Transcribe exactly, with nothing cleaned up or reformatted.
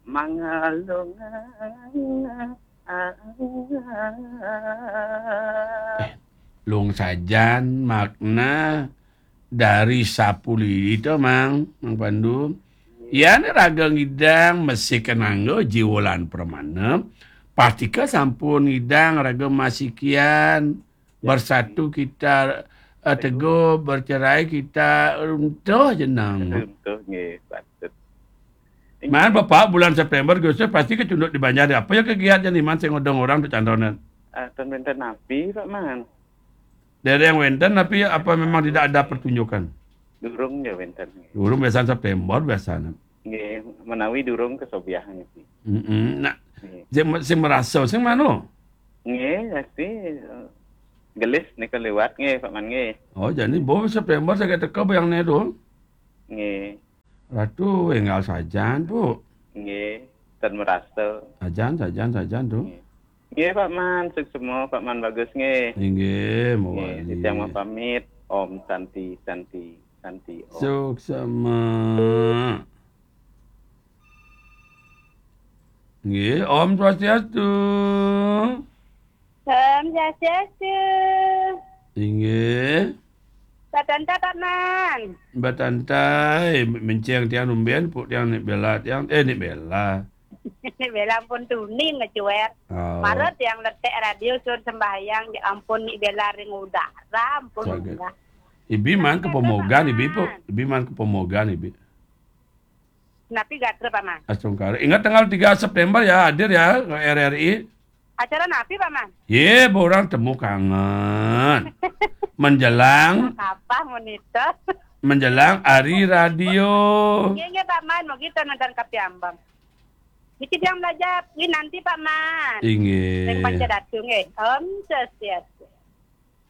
Mangalung. Eh, lung sajan makna dari sapulidi to, Mang, Mang Pandu. Yan raga ngidang masih kenangga jiwolan permana, pastika sampun ngidang raga masikian, bersatu kita, eh, teguh, bercerai kita runtuh jenang. Runtuh, nggih, patut. Man, Bapak, bulan September, Agustus pasti kecunduk di banjar. Apa ya kegiatan iman sing ngodong orang tu cantonan? Ah, ten wenten napi, Pak Man. Dereng wenten, tapi apa memang tidak ada pertunjukan? Durung ya wenten. Durung biasanya September biasanya. Nggih, menawi durung kesobiahan niki. Mm-mm. Nah, nggih, sing, sing merasa, sing mana? Nggih, pasti, eh, gelis nika liwat nggih, Pak Man nggih. Oh, jadi bo September saya teka bayang ne tu. Nggih. Ratu enggal sajan, Bu. Nggih, ten merasa. Sajan, sajan, sajan tu. Nggih. Nggih, Pak Man, suksma Pak Man Bagus nggih. Inggih, nggih, mawali. Titiang mapamit. Om Santi, Santi, Santi, Om. Suksma. Nggih, Om Swastiastu. Om Swastiastu. Inggih. Patanta, Pak Man. Patanta, eh, menceng tiang numben, puk tiang ni bela tiang, eh, ni bela. Ni bela ampun tuni ngecuer. Oh. Mara tiang letek radio sur sembahyang, ya ampun, ni bela ring udara, ampun. Saget. Ibi man ke Pemogan, Ibi, Pak. Ibi man ke Pemogan, Ibi. Napi gatra, Pak Man? Astungkara. Ingat tanggal tiga September ya, hadir ya ke R R I. Acara napi, Pak Man? Ye, orang temu kangen. Menjelang apa, monitor? Menjelang hari radio. Nggih, nggih, Pak Man, mungkin nonton kapiambang. Niki yang belajar, ini nanti, Pak Man. Inggih. Yang panca datu nggih. Om Swastiastu.